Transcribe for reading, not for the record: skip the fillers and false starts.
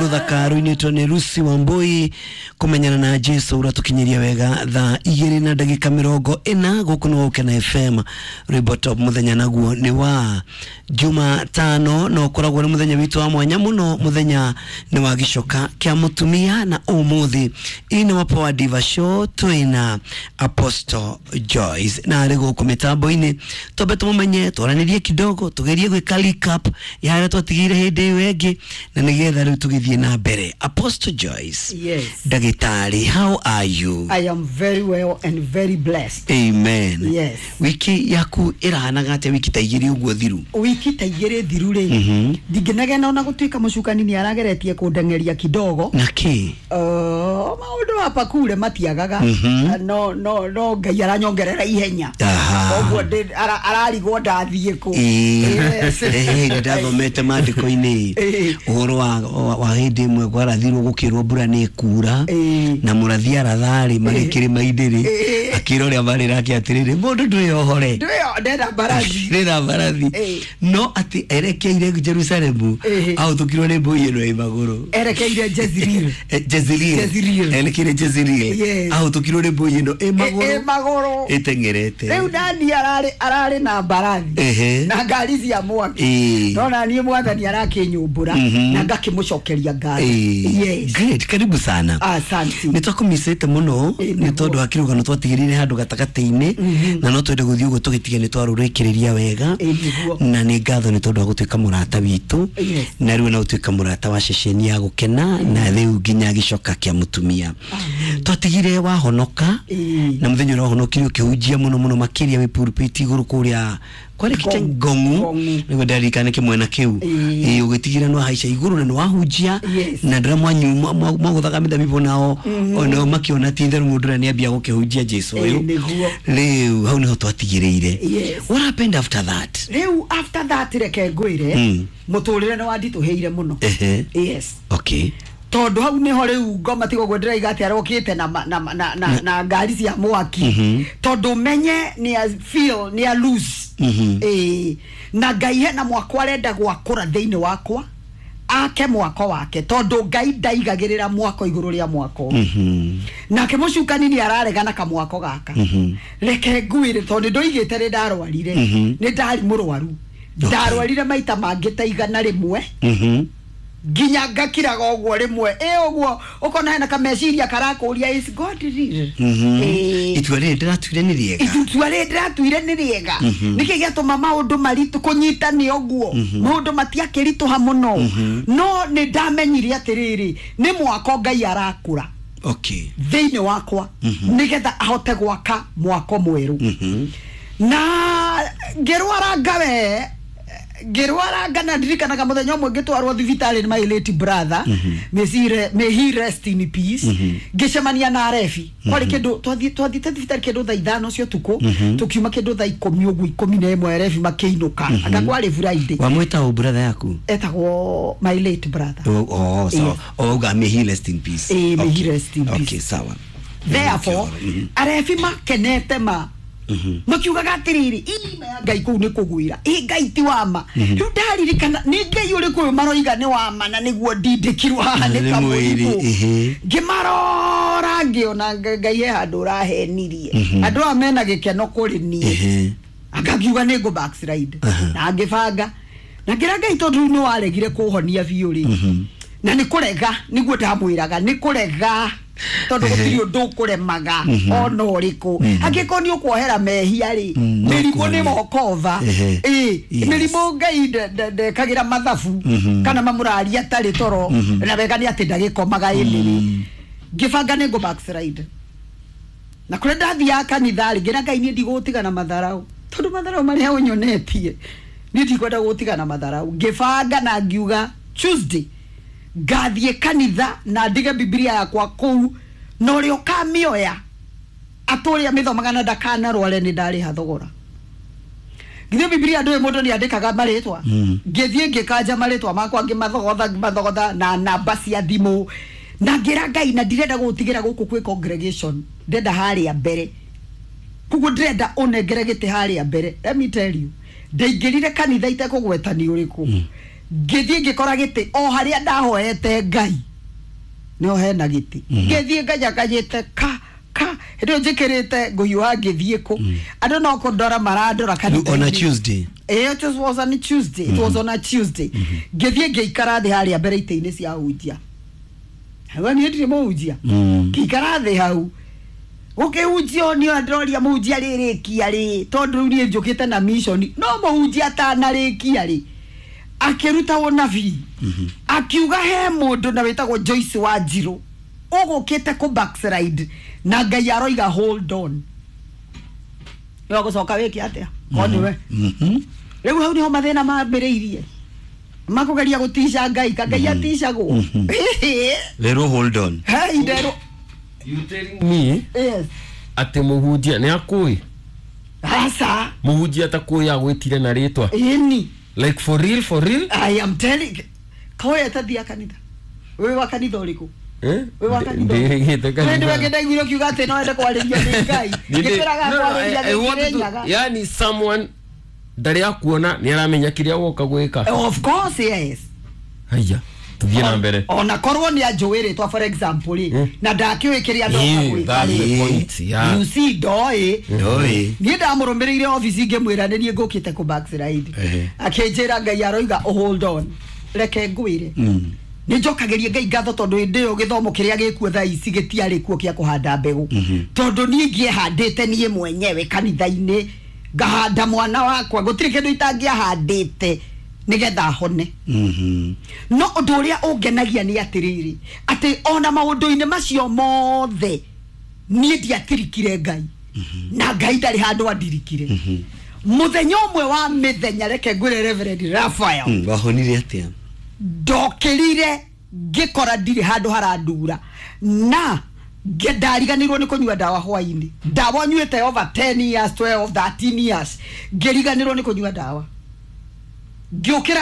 Ruthaka ruinĩtwo nĩ Lucy Wambui kũmenyana na Jesu ũratukinyiria wega thaa 2 na ndagĩka 40 gũkũ nĩ Gũkena FM. Rwĩmbo top mũthenya naguo nĩ wa Jumatano na ũkoragwo nĩ mũthenya witũ wa mwanya mũno. Mũthenya nĩ wa gĩcoka kĩa mũtumia na ũmũthĩ ĩ wa Power Diva Show twĩna Apostle Joyce na arĩ gũkũ mĩtambo-inĩ. Twambe tũmũmenye, twaranĩrie kidogo, tugerie gwĩka recap ya harĩa twatigire hĩndĩ ĩyo ĩngĩ na nĩgetha rĩu tũgĩthiĩ na mbere. Apostle Joyce. Yes. Ndagĩtarĩ, how are you? I am very well and very blessed. Amen. Yes. Wiki yaku ĩrahanaga atĩa wiki ta igĩrĩ ũguo thiru? Wiki ta igĩrĩ thiru rĩ, ndingĩnegena ona gũtuĩka mũcukani nĩ arageretie kũndengeria kidogo. Na kĩ? Maũndũ hapa kule matiagaga. No no no Ngai aranyongerera ihenya. Koguo ararigwo ndathiĩ kũ. Yes. Ndathomete maandĩko-inĩ ũhoro wa hĩndĩ ĩmwe kwarathirwo gũkĩrwo mbura nĩ ĩkura na mũrathi aratharĩ marĩ kĩrĩma-inĩ rĩ, akĩra ũrĩa marĩ nake atĩrĩrĩ, mũndũ ndwĩyohore, ndĩrenda mbarathi, ndĩrenda mbarathi, no atĩ erekeire Jerusalemu ahũtũkirwo nĩ mbũi ĩno ĩ magũrũ. Erekeire Jezreel. Jezreel. Erekeire Jezreel ahũtũkirwo nĩ mbũi ĩno ĩ magũrũ ĩteng'erete. Rĩu nani ararĩ na mbarathi na ngari cia mwaki, no na niĩ mwathani arakĩnyũmbũra na ngakĩmũcokeria ngatho. Yes. Great, karibu sana. Asante. Nĩ twakũmicĩte mũno nĩ tondũ wa kĩrũgano twatigĩrĩire handũ gatagatĩ-inĩ na no twende gũthiĩ ũguo tũgĩtige nĩ twarũrĩkĩrĩria wega na nĩ ngatho nĩ tondũ wa gũtuĩka mũrata witũ na rĩu na gũtuĩka mũrata wa ceceni ya Gũkena na rĩu nginya gĩcoka kĩa mũtumia. Twatigire wahonoka na mũthenya ũrĩa wahonokire ũkĩhunjia mũno mũno makĩria wĩ pulpit igũrũ kũrĩa kwarĩ kĩte Ngong'u nĩguo ndarikana kĩmwena kĩu ũgĩtigĩra nĩ wahaica igũrũ na nĩ wahunjia na ndĩra mwanyu mwagũthaga mĩthabibũ nao onao makĩona ti itherũ mũndũ ũrĩa nĩambia gũkĩhunjia Jesu ũyũ. Rĩu hau nĩho twatigĩrĩire. What happened after that? Rĩu after that reke ngwĩre mũtũrĩre nĩ wanditũhĩire mũno. Yes. Okay. Tondũ hau nĩho rĩu ngoma tiga ũguo ndĩraiga atĩ arokĩte na ngari cia mwaki tondũ menye nĩ feel nĩ a lose. Na Ngai hena mwako arenda gwakũra thĩinĩ wakwa ake mwako wake tondũ Ngai ndaigagĩrĩra mwako igũrũ rĩa mwako. Nake mũcukani nĩ araregana kamwako gaka. Reke ngwĩre tondũ ndoigĩte rĩ ndarwarire nĩ ndarĩ mũrwaru, ndarwarire maita mangĩ ta 100 nginya ngakiraga ũguo rĩmwe ũguo ũkona hena kameciria karakũria is God real? Itua rĩrĩ ndĩratuire nĩ rĩega, itua rĩrĩ ndĩratuire nĩ rĩega. Nĩkĩ gĩatũma maũndũ maritũ kũnyita nĩ ũguo maũndũ matiakĩritũha mũno, no nĩ ndamenyire atĩrĩrĩ nĩ mwako Ngai arakũra thĩinĩ wakwa nĩgetha ahote gwaka mwako mwerũ. Na ngĩrwara ngawe ngĩrwara ngana ndirikanaga mũthenya ũmwe ngĩtwarwo thibitarĩ nĩ my late brother, may he rest in peace. Ngĩcemania na Arebi kwarĩ kĩndũ twathiĩte thibitarĩ kĩndũ thaa 5 cia ũtukũ, tũkiuma kĩndũ thaa 10 ũguo 11 Arebi makĩinũka. Anga kwarĩ Friday. Wamwĩta ũ brother yaku? Etagwo my late brother. Oh, so auga may he rest in peace. May he rest in peace. Okay, sawa. Therefore Arebi makenete ma makiugaga atiriri ima ya Ngai kũu nĩ kũgwĩra ĩ Ngai ti wama. Rĩu ndaririkana nĩ Ngai ũrĩkũ ũyũ maroiga nĩ wama na nĩguo ndindĩkirwo haha nĩ kamũrimũ. Ngĩmarora ngĩona Ngai he handũ ũrahenirie andũ aya mena gĩkeno kũrĩ niĩ, angakiuga nĩ ngũ backslide na ngĩbanga na ngĩra Ngai tondũ rĩu nĩ waregire kũhonia biũ rĩ, na nĩ kũrega nĩguo ndamwĩraga nĩ kũrega tondũ gũtirĩ ũndũ ũkũremaga ona ũrĩkũ angĩkorwo nĩ ũkuohera mehia rĩ, mĩrimũ nĩ mokova. Mĩrimũ Ngai ndekagĩra mathabu kana mamũraria atarĩ toro na wega nĩ atĩ ndagĩkomaga ĩnĩrĩ. Ngĩbanga nĩ ngũ backslide na kũrĩa ndathiaga kanitha rĩ, ngĩra Ngai niĩ ndigũtigana matharau tondũ matharau marĩa ũnyonetie niĩ ndikwenda gũtigana matharau. Ngĩbanga na ngiuga Tuesday ngathiĩ kanitha na ndige Bibilia yakwa kũu na ũrĩa ũkamĩoya atũrĩa mĩthomaga na ndakanarware nĩ ndarĩha thogora. Githĩ Bibilia ndũĩ mũndũ nĩ andĩkaga marĩtwa. Ngĩthiĩ ngĩkanja marĩtwa makwa ngĩmathogotha na namba cia thimũ na ngĩra Ngai na ndirenda gũtigĩra gũkũ kwĩ congregation, ndĩrenda harĩa mbere, koguo ndĩrenda ũnengere gĩtĩ harĩa mbere. Let me tell you, ndaingĩrire kanitha itekũgweta nĩ ũrĩkũ. Ngĩthiĩ ngĩkora gĩtĩ o harĩa ndahoete Ngai nĩho hena gĩtĩ. Ngĩthiĩ nganyakanyĩte ka ka hĩndĩ ĩyo njĩkĩrĩte ngũhiũha ngĩthiĩ kũ andũ no kũndora marandora Rĩu on a Tuesday. It was on a Tuesday. It was on a Tuesday. Ngĩthiĩ ngĩikara thĩ harĩa mbere itĩ-inĩ cia hunjia. Hau niĩ ndirĩ mũhunjia. Ngĩikara thĩ hau. Gũkĩhunjio niĩ ndĩroria mũhunjia rĩrĩkia rĩ, tondũ rĩu niĩ njũkĩte na mission. No mũhunjia atanarĩkia rĩ, akĩruta ũnabii. Akiuga he mũndũ na wĩtagwo Joyce Wanjirũ ũgũkĩte kũ backslide na Ngai aroiga hold on. Nĩ ũgũcoka wĩke atĩa? Ko nĩwe. Rĩu hau nĩho mathĩna mambĩrĩirie makũgeria gũtica Ngai ka Ngai aticagwo. Werwo hold on. Hei nderwo. You telling me Yes. atĩ mũhunjia nĩ akũĩ? Aca. Mũhunjia atakũĩ agwĩtire na rĩtwa. Ĩni. Like for real, for real? I am telling. Koya tathia kanitha. Wĩ wa kanitha ũrĩkũ? Eh? Wĩ wa kanitha. Ndĩrĩgĩte Kanitha. Nĩ kanitha. ndaiguire ũkiuga atĩ no wende kwarĩrio nĩ Ngai. Ngĩkwĩraga No, no, kwarĩria I nĩ want to, Kĩrĩnyaga. yani someone ndarĩ akuona nĩ aramenya kĩrĩa woka gwĩka. Of course yes. Haiya, tũthiĩ na mbere. Ona korwo nĩ anjũĩ rĩtwa for example rĩ, na ndakĩũĩ kĩrĩa ndoka Yeah, gwĩka that's the rĩ. point, yeah. You see ndoĩ. Ndoĩ. Niĩ ndamũrũmĩrĩire obici ngĩmwĩra nĩ niĩ ngũkĩte kũ backslide. Akĩnjĩra Ngai aroiga hold on. Reke ngwĩre. Nĩ njokagĩria Ngai ngatho tondũ hĩndĩ ĩyo gĩthomo kĩrĩa gĩkuo thaa ici gĩtiarĩ kuo kĩa kũhanda mbegũ. Tondũ niĩ ingĩehandĩte niĩ mwenyewe kanitha-inĩ ngahanda mwana wakwa gũtirĩ kĩndũ itangĩahandĩte nĩgetha hone. No ũndũ ũrĩa ũngenagia nĩ atĩrĩrĩ atĩ ona maũndũ-inĩ macio mothe niĩ ndiatirikire Ngai. Na Ngai ndarĩ handũ andirikire. Mũthenya ũmwe wa mĩthenya reke ngwĩre Reverend Raphael. Wahonire atĩa? Ndokĩrire ngĩkora ndirĩ handũ harandura na ndariganĩirwo nĩ kũnyua ndawa hwainĩ. Ndawa nyuĩte over 10 years, 12, 13 years. Ngĩriganĩrwo nĩ kũnyua ndawa. Ngĩũkĩra